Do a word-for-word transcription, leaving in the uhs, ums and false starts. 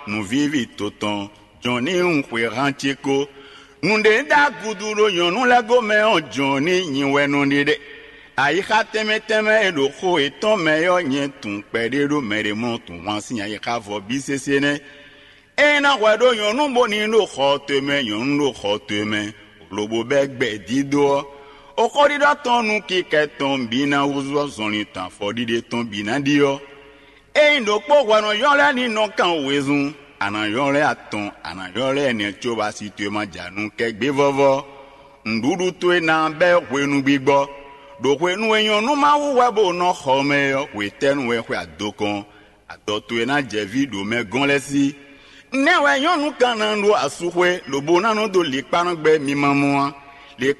Nǔvíví to tɔn, jɔn ní un xwe han ce ko. Nǔɖé ɖo agudu ɖo nyɔ̌nu lɛ́ɛ gomɛ ɔ́, jɔn ní nyi wɛ nɔ ɖe ɖe. Ayixa tɛnmɛ tɛnmɛ e ɖo xo yětɔn mɛ ɔ́, nyɛ tunwun kpɛɖé ɖó mɛ ɖé mɔ tunwun sín ayixa vɔ bí sésé nɛ́. Ényí ná hwɛ ɖó nyɔ̌nu bó ní ɖo xɔ towe mɛ, nyɔ̌nu ɖo xɔ towe mɛ, lobo bɛ́ gbɛ dídó ɔ́, oxóɖiɖɔ tɔn nú kikɛ tɔn bǐ ná húzú ɔ́, zɔnlin tɔn afɔɖiɖe tɔn bǐ ná ɖi ɔ́, ényí ɖokpó hwɛ nɔ ylɔ́ lɛ́ɛ ní nɔ kan wezun, a nǎ ylɔ́ lɛ́ɛ atɔn, a nǎ ylɔ́ lɛ́ɛ ɛnɛ cóbɔ asi towe ma ja nú kɛgběvɔ́vɔ́. Nǔɖuɖu towe ná bɛ́ hwenu gbigbɔ, ɖo hwenu e nyɔ̌nu Mawu wɛ bó nɔ xɔ mɛ é ɔ́, hwetɛ́nu wɛ xwe adokɔn? Adɔ towe ná jɛ ví ɖo mɛ gɔ́n lɛ́ɛ sí. Nɛ́ wɛ nyɔ̌nu kan ná ɖó asúxwé, lobo ná nɔ dó likpá nɔ gbɛ́ mi ma mɔ a? Likpá